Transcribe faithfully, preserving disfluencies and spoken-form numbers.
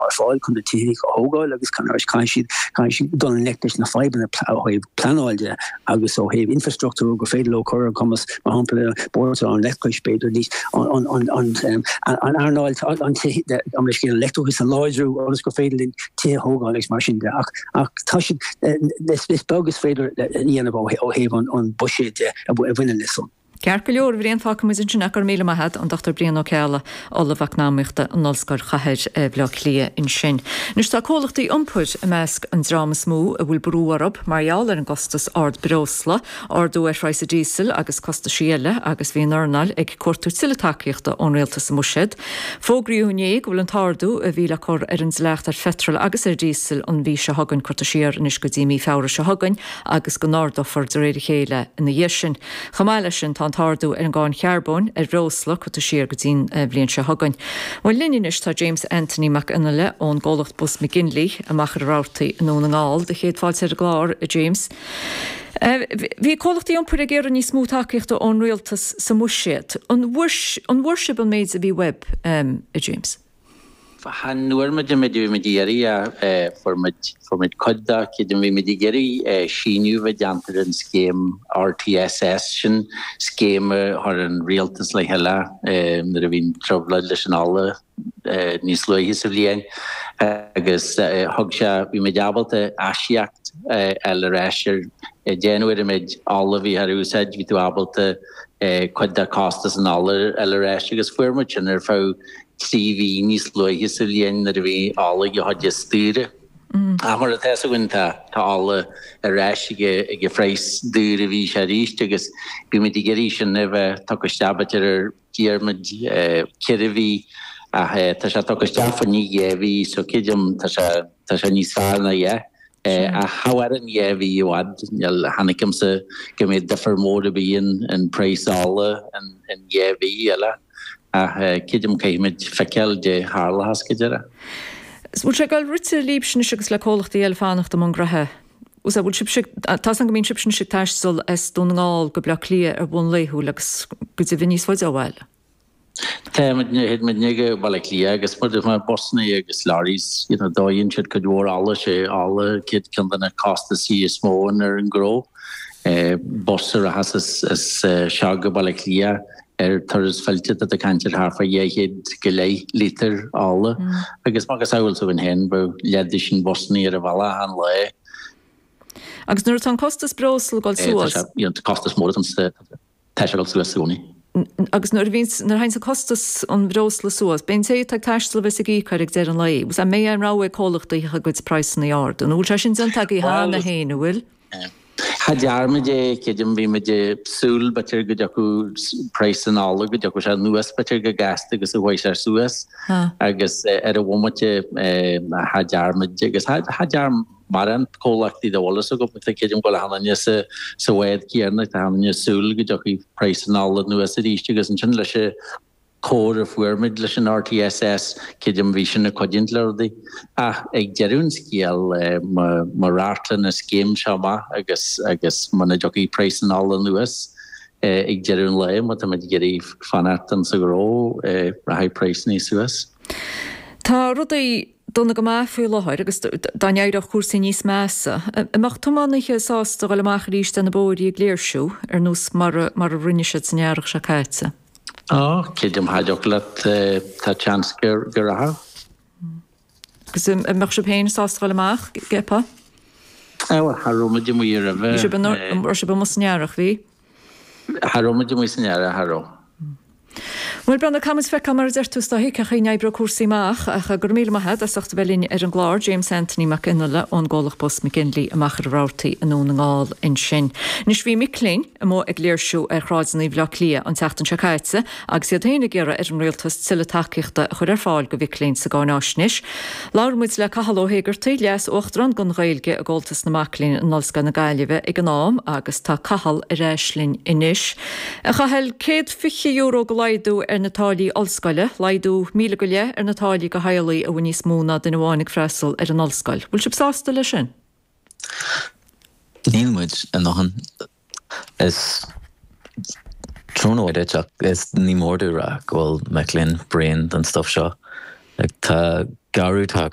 ar fáil chun na tithe a thógáil agus caithfidh siad caithfidh siad dul i ngleic leis na fadhbanna ó thaobh pleanáil de agus ó thaobh infrastruchtúr go féidir leo cur ar cumas mar shampla bord an leictreachais b'fhéidir níos an an an an earnáil an an scéal leictreachais a láidriú agus gur féidir linn tithe a thógáil agus mar sin de ach ach tá siad is is beag is féidir a dhéanamh ó thaobh an an buiséad de a bhaineann leis san. Ceart go leor, a Bhriain, fágfaidh muid ansin é, go raibh míle maith agat, an Dochtúir Brian Ó Ceallaigh, Ollamh Eacnamaíochta in Ollscoil Chathair Bhaile Átha Cliath ansin. Anois tá comhlachtaí iompair i measc an dream is mó a bhfuil brú orthu mar gheall ar an gcostas ard breosla, ardú ar phraghas an díosail agus costaisí eile agus bhí an earnáil ag cuartú tuilleadh tacaíochta ón rialtas sa mbuiséad. Fógraíodh inné go bhfuil an t-ardú a bhí le cur ar an dleacht ar pheitreal agus ar dhíosal an mhí seo chugainn curtha siar anois go dtí mí Feabhra seo chugainn agus go n-ardófar de réir a chéile ina dhiaidh sin. Chomh maith leis sin tá an t-ardú ar an gcáin charbóin ar bhreosla curtha siar go dtí'n bhliain seo chugainn. Bhuel linn anois tá James Anthony Mac Fhionnghaile ón gcomhlacht Bus McGinley i Machaire Rabhartaigh i nDún na nGall do chéad fáilte ar an gclár, James. Bhí comhlachtaí iompair ag iarraidh níos mó tacaíochta ón rialtas sa mbuiséad. An bhfuair sibh an méid a bhí uaibh, a James? Chan fhuair muid an méid a bhí muid ag iarraidh, fuair muid fuair muid cuid de, creidim bhí muid ag iarraidh síneadh a bheith déanta ar an scéim R T S S sin scéim a chuir an rialtas le chéile nuair a bhí an trioblóid leis an ola níos luaithe sa bhliain agus thug sé bhí muid ábalta aisíoc a fháil ar ais ar déanamh ar an méid ola a bhí ar úsáid, bhí tú ábalta cuid de costas an ola a fháil ar ais agus fuair muid sin ar feadh trí mhí níos luaithe sa bhliain nuair a bhí ola ag an chuid is daoire. Ach mar atá a fhios againn tá tá ola ar ais ag ag an phraghas daor a bhí sé arís agus bhí muid ag iarraidh sin a bheith tugtha isteach b'fhéidir ar d'iarr muid ceithre mhí ach tá sé tugtha isteach fá choinne dhá mhí so creidim tá sé tá sé níos fearr ná a dhath. Ach cha mhaireann dhá mhí i bhfad, níl cha fheicimse go mbeidh difear mór ar bith in in praghas ola in in dhá mhí eile ach creidim caithfimid feiceáil dé tharlóchas go deireadh. Bhfuil sé ag dul rite libhse anois agus le comhlachtaí eile fanacht i mbun graithe? Bhfuil sibhse, tá a fhios agam go mbíonn sibhse anois ag taisteal as Dún na nGall go Bleá Cliath ar bhonn laethúil agus go deimhin níos faide ó bhaile. Tá muid muidne go Baile Átha Cliath agus mar mar busanna agus lorries you know dóann siad cuid mhór ola sé ola céad ceann de na costasaí is mó ar an ngnó. Bus a rachas as as seo go Baile Átha Cliath ar turas fillte tá caint ar thart fá dhá chéad go leith lítear ola agus mar go samhail tú féin bheadh leath de sin busanna ar an bhealach an lae. Agus nuair atá an costas breosla ag dul suas. Tá costas mór tá sé ag dul suas i gcónaí. Agus nuair a bhíonn nuair a théann an costas an bhreosla suas, b'é an té atá ag taisteal a bheas ag íoc air ag deireadh an lae. An mbeidh aon rogha ag comhlachtaí a gcuid praghsanna a ardú? Nó bhfuil sé sin déanta agaibh cheana féin, an bhfuil? Cha dear muid é creidim bhí muid ag súil b'fhéidir go dtiocfadh praghas an ola go dtiocfadh sé anuas b'fhéidir go gasta agus a chuaigh sé suas agus ar an bhomaite cha dear muid agus cha dear mórán comhlachtaí dá bhfuil a fhios agam tá creidim go bhfuil achan duine sa sa bhád céanna tá achan duine ag súil go dtiocfaidh praghas an ola anuas arís agus ansin leis an chabhair a fuair muid leis an R T S S creidim bhí sin ag cuidiú le rudaí. Ach ag deireadh an scéil má radharctar an scéim seo amach agus agus muna dtiocfaidh praghas an ola anuas ag deireadh an lae má tá muid ag iarraidh fanacht sa ghnó rachaidh praghsanna suas. Tá rudaí dona go maith faoi láthair agus dá n-éireodh cúrsaí níos measa, an mbeadh tiománaithe sásta dul amach arís ar na bóithre ag léirsiú ar nós mar a mar a rinne siad san earrach seo caite? Á, creidim cha dtiocfadh leat tá seans go go rachadh. Agus an mbeadh sibh féin sásta dul amach, gceapfá? Á, bhuel, cha raibh muid amuigh roimhe. Bhí sibh an raibh sibh amuigh san earrach, bhí? Cha raibh muid amuigh san earrach, cha raibh. Bhuel, Breandán, caithfimid feiceáil mar a deir tú is dóigh cén chaoi a n-oibreoidh cúrsaí amach ach go raibh míle maith agat as ucht a bheith linn ar an gclár, James Anthony Mac Fhionnghaile ón gcomhlacht Bus McGinley i Machaire Rabhartaigh i nDún na nGall ansin. Anois bhí mic léinn amuigh ag léirsiú ar shráideanna Bhaile Átha Cliath an tseachtain seo caite agus iad féin ag iarraidh ar an rialtas tuilleadh tacaíochta a chur ar fáil do mhic léinn sa gcáináisnéis. Labhair muid le Cathal Ó hÉigeartaigh, Leas Uachtarán don Ghaeilge i gComhaltas na Mac Léinn in Ollscoil na Gaillimhe ag an am agus tá Cathal ar ais linn anois. A Chathail, céad fiche euro de laghdú ar na táillí ollscoile, laghdú míle go leith ar na táillí do theaghlaigh a bhfuil níos mó ná duine amháin ag freastal ar an ollscoil. Bhfuil sibh sásta leis sin? Níl muid a ndóthain. Is trua duit ach is ní mór dom a rá go bhfuil mic léinn bréan den stuff seo. Like, tá Gearradh atá